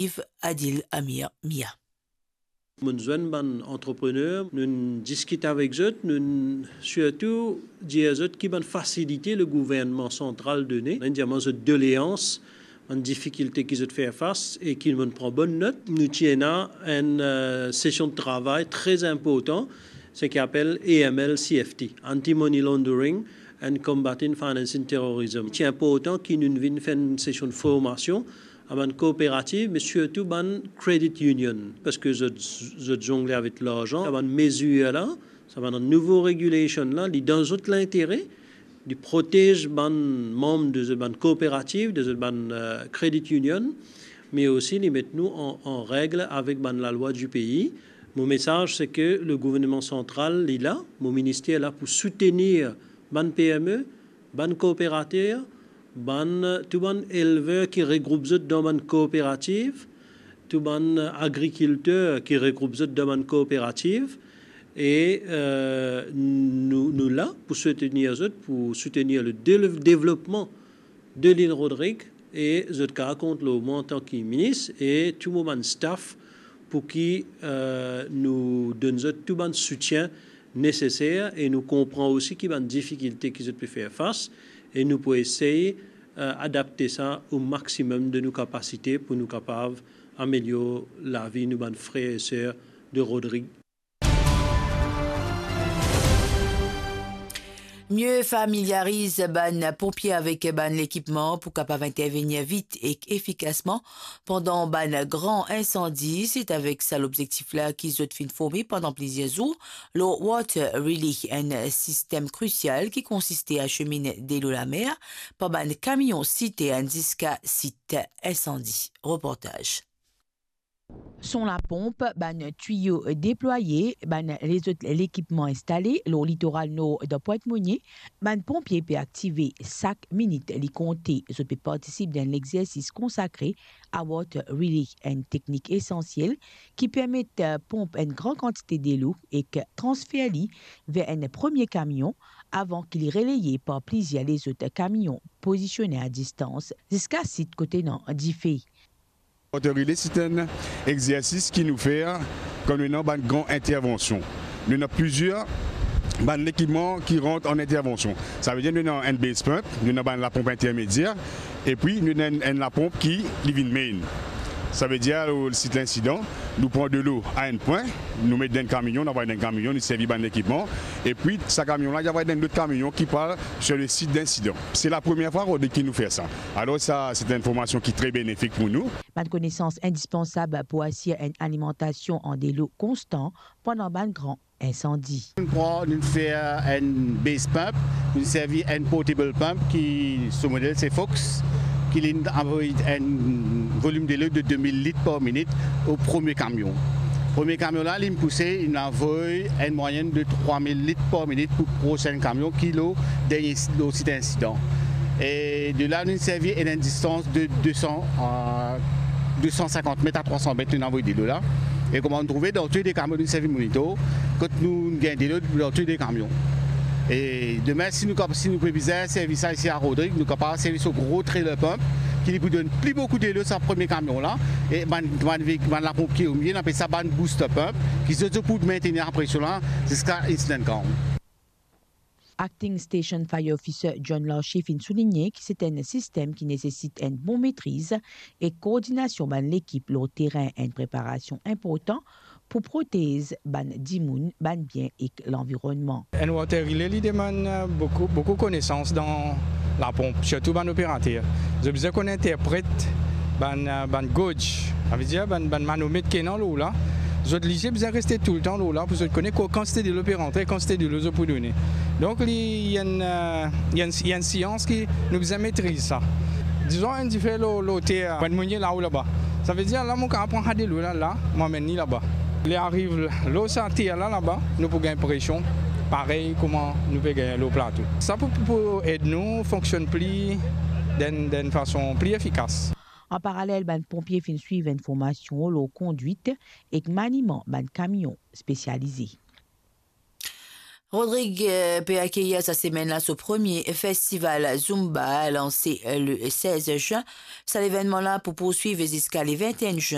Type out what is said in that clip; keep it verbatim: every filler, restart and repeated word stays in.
Yves Adil Amir Mia. Mo'nn zwenn bann antreprener, nounn diskit avek zot, nounn sirtou dir zot ki bann fasilite le gouvernman santral done, nounn dir mwa zot doleans, bann difikilte ki zot fer fas e ki mo'nn pran bonn not. Nou ti ena enn, eh, sesion de travay tre inportan, seki apel A M L C F T, Anti-Money Laundering and Combating Financing Terrorism. Ti inportan ki nou vinn fer enn sesion de formasion a bann kooperativ, me sirtou bann credit union, parski zot, zot zongle avek larzan. Sa bann mezir la, sa bann nouvo regulation la, li dan zot lintere, li protez bann manm de zot bann kooperativ, de zot bann, eh, credit union, me osi li met nou an, an reg avek bann lalwa di pei. Mo mesaz, se ke le gouvernman santral, li la, mo minister la pou soutenir bann P M E, bann kooperater, bann, tou bann elver ki regroup zot dan bann kooperativ, tou bann agrikilter ki regroup zot dan bann kooperativ, e, eh, nou, nou la pou soutenir zot, pou soutenir le de-, devlopman de Lil Rodrig, e zot kapav kont lor mwa antan ki minis e tou mo bann staff pou ki, eh, nou donn zot tou bann soutien neseser, e nou konpran osi ki bann difikilte ki zot pe fer fas, e nou pou esey, eh, adapte sa o maximum de nou kapasite pou nou kapav amelior lavi nou bann frer e ser de Rodrig. Mie familiariz bann ponpie avek bann lekipman pou kapav intervenir vit ek efikasman pandan bann gran insandi. Se avek sa lobzektif la ki zot finn forme pandan plizier zour lor Water Relay, enn sistem krisial ki konsiste a asemin delo lamer par bann kamion sitern ziska sit insandi. Reportaz. Son laponp, bann twiyo deplwaye, bann lezot lekipman instale lor litoral nor dan Pwint Monie, bann ponpie pe aktive sak minit li konte. Zot pe partisip dan enn lexersis konsakre a Water Relay, enn teknik esansiel ki permet, eh, ponp enn gran kantite delo ek transfer li ver enn premie kamion avan ki li releye par plizier lezot kamion pozisione a distans ziska sit kot ena dife. Water Relay, se enn exersis ki nou fer kan nou ena bann gran intervansion. Nou ena plizier bann lekipman ki rant an intervansion. Savedir nou ena enn base pump, nou ena bann laponp intermedier, epi nou ena enn, enn laponp ki li vinn main. Savedir, lor sit linsidan, nou pran delo a enn pwin, nou met dan enn kamion, nou anvway dan enn kamion, nou servi bann lekipman, epi sa kamion la, li anvway dan enn lot kamion ki pral sir le sit linsidan. Se lapremier fwa, Rodrig, ki nou fer sa. Alor sa, se enn formasion ki tre benefik pou nou. Bann konesans indispansab pou asir enn alimantasion an delo konstan pandan bann gran insandi. Nou pran, nou fer enn base pump, nou servi enn portable pump ki so model se Fox, ki li anvoy enn volim delo de de mil lit par minit o premie kamion. Premie kamion la, li pouse, li anvoy enn mwayenn de trwa mil lit par minit pou prosin kamion ki lor dernie, lor sit insidan. E de la, nou servi enn, enn distans de de san, euh, de san sinkant met a trwa san met, nou anvoy delo la. E kouma nou trouve, dan tou de kamion, nou servi monitor, kot nou gagn delo dan tou de kamion. E demin, si nou kap-, si nou pe bizin servi sa isi a Rodrig, nou kapav servi so gro trailer pump, ki li pou donn pli boukou delo sa premie kamion la. E bann, bann vei-, bann laponp ki omie, nou apel sa bann booster pump, ki zot, zot pou mintenir sa presion la ziska incident ground. Acting Station Fire Officer John Larcher finn souligne ki se enn sistem ki nesesit enn bon metriz ek koordinasion bann lekip lor terin, enn preparasion inportan pou protez bann dimoun, bann bien ek lanvironnman. Enn water relay, li demann, euh, boukou, boukou konesans dan laponp, sirtou bann operater. Zot bizin konn interpret bann, euh, bann gauge, savedir bann, bann manomet ki ena lor la. Zot lizie bizin reste toultan lor la pou zot kone ko-, kantite delo pe rantre, kantite delo zot pou done. Donk, li, li enn, euh, li enn, li enn sians ki nou bizin metriz sa. Dizon, enn dife lor, lor ter, bann mounie la ou laba. Savedir, la, mo kapav pran sa delo la, la, mo amenn li laba. Li ariv lor sa ter la, laba, nou pou gagn presion, parey kouma nou pe gagn lor plato. Sa pou, pou ed nou fonksionn pli, dan, dan enn fason pli efikas. An paralel, bann ponpie finn swiv enn formasion lor kondwit ek maniman bann kamion spesialize. Rodrig, euh, pe akeyir sa semenn la so premie festival Zumba, lanse, euh, le sez zin. Sa levennman la pou pourswiv ziska le vinteenn zin.